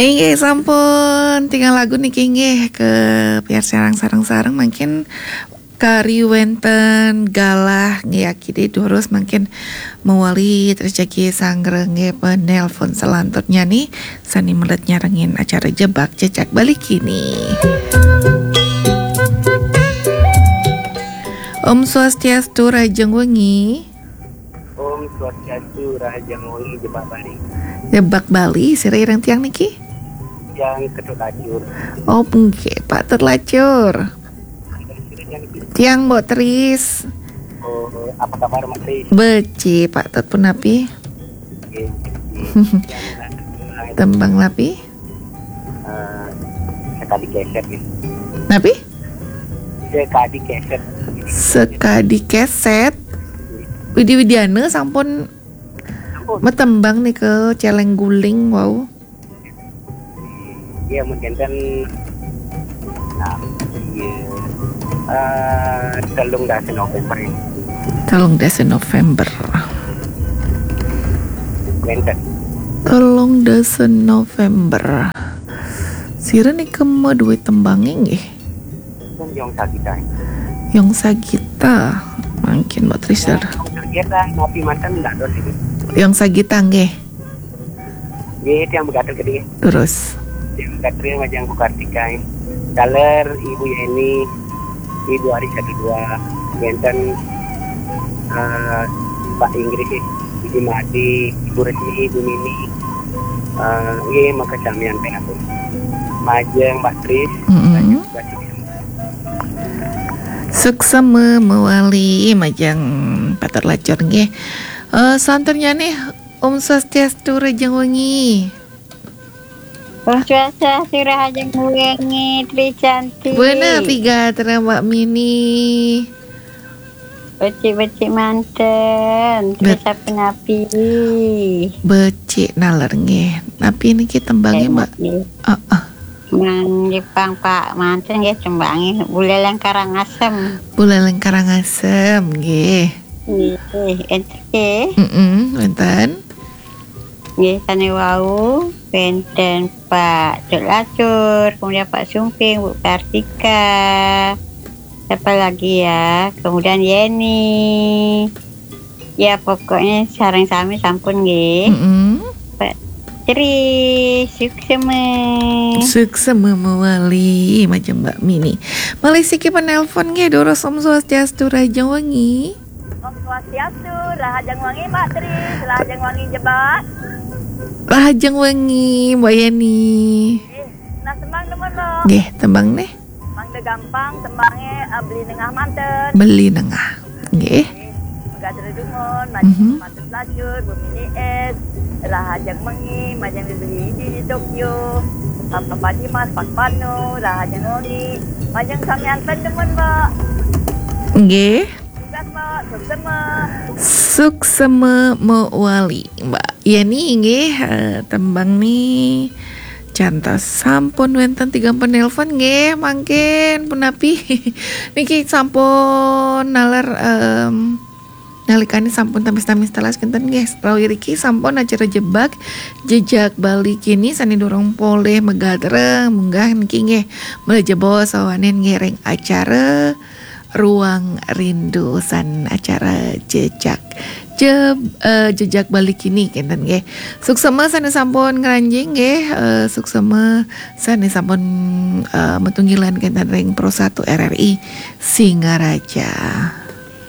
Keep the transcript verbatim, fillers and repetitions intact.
Inggih, sampun tigang lagu niki, inggih, kapiarsayang sareng-sareng, mangkin kari wénten galah nggih, kidé durus mangkin mawali terus jagi sanggra nggih penelpon selanturnya nih, sané mlebet nyarengin acara Jebak Jejak Bali kini. Om Swastiastu, rahajeng wengi. Om Swastiastu, rahajeng wengi, Jebak Bali. Jebak Bali, sira ireng tiang niki? Tiang Ketut Lacur. Oh, nggih, Pak Tut Lacur. Tiang Mbok Tris. Oh, apa kabar, Mbok Tris? Becik, Pak Tut, punapi? Nggih, becik. Tiang Tembang napi? Eh, sekadi keset, nggih. Napi? Sekadi keset. Sekadi keset. Widi Widiana sampun Sampun. Matembang nika Celeng Guling wau. Iya, mun kénten, nah, iya. Eh, telung dasa November ini. Telung dasa November. Wénten. Telung dasa November. Sira nika madué tembang nggih? Kan Yong Sagita. Yong Sagita. Mangkin Mbok Tris. Yong Sagita, napi manten ndak dos ini. Yong Sagita nggih. Nggih, tiang megatur gedé. Terus. Tiang megatur majeng Bu Kartika. Taler Ibu Yeni, Ibu Ari satu dua, wénten, eh, Pak Inggris, Ibu Madi, Ibu Resmi, Ibu Mini. Eh, nggih, maka samian pinatur. Majeng Mbok Tris, mm-mm. Majeng Mbok Tris. Suksma mawali majeng Pak Tut Lacur nggih. Eh, santurnya nih, Om Swastiastu, rahajeng wengi. Om Swastiastu, rahajeng wengi, Tri Cantik. Bener, tiga terang Mbok Mini. Becik-becik manten, bet- terus sapunapi? Becik naler nggih. Napi niki tembangé, Mbok? Enak nggih. Heeh. Mang Jepang, Pak, manten nggih tembangé Buleleng Karangasem. Buleleng Karangasem nggih. Nggih, enten nggih. Mm-mm, wénten. Nggih, sané wau wénten Pak Tut Lacur, kemudian Pak Sumping, Bu Kartika. Siapa lagi ya? Kemudian Yeni. Ya, pokoknya sareng sami sampun nggih. Mm-mm. Pak Tri, suksma. Suksma mawali, majeng Mbok Mini. Malih siki penelpon nggih, durus. Om Swastiastu, rahajeng wengi. Om Swastiastu, rahajeng wengi, Mbok Tri, rahajeng wengi Jebak. Rahajeng wengi, Mbok Yeni. Nggih, nah, tembang demen, Mbok. Nggih, tembang nih. Mangda gampang, tembangé, eh, Beli Nengah manten. Beli Nengah. Nggih. Nggih, megatur dumun, majeng, mhm, Pak Tut Lacur, Bu Mini S, rahajeng wengi, majeng Beli di, di Tokyo, Papa Dimas, Pak Panu, rahajeng wengi, majeng samian ten demen, Mbok. Nggih. Tugas, Mbok, suksma. Suksma mawali, Mbok Yeni nggih, eh, tembang nih cantos sampun wénten tigang penelpon nggih, mangkin punapi? Niki sampun naler, em, nalikane sampun tamis-tamis telas kinten nggih. Rauh iriki sampun acara Jebak Jejak Bali kini sané durung polih megatur, munggah niki nggih. Mlajah bawa sawanen nggih ring acara Ruang Rindu san acara Jejak Je-, eh, Jejak Bali kini kinten nggih. Suksma sané sampun ngranjing nggih, eh, suksma sané sampun, eh, matunggilan kinten ring Pro satu R R I Singaraja.